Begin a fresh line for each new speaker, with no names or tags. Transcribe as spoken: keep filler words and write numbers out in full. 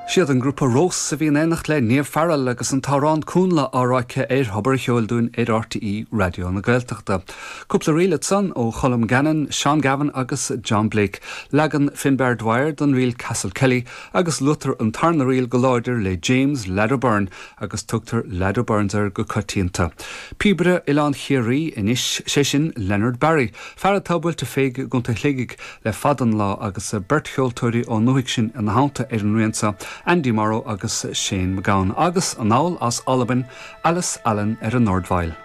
Siad an grúpa Rós a bhí in éineacht le Niamh Farrell agus an t-amhrán Cúnla á rá aici ar Thobar an Cheoil dúinn ar RTÉ Raidió na Gaeltachta. Cúpla ríl ansan ó Cholm Gannon, Seán Gavin agus John Blake. Leagan Finbar Dwyer don ríl Castle Kelly agus luaitear an tarna ríl go láidir le James Lad O'Byrne agus tugtar Lad O'Byrnes air go coitianta. Píobaire Oileán Chiarraí anois sé sin Leonard Barry, fear atá buailte fé i gContae Shligigh le fada an lá agus beirt cheoltóirí ón ndúthaigh sin ina theannta ar an rian seo, Andy Morrow agus Shane MacGowan agus anall as Albain, Alice Allen ar an dordveidhil.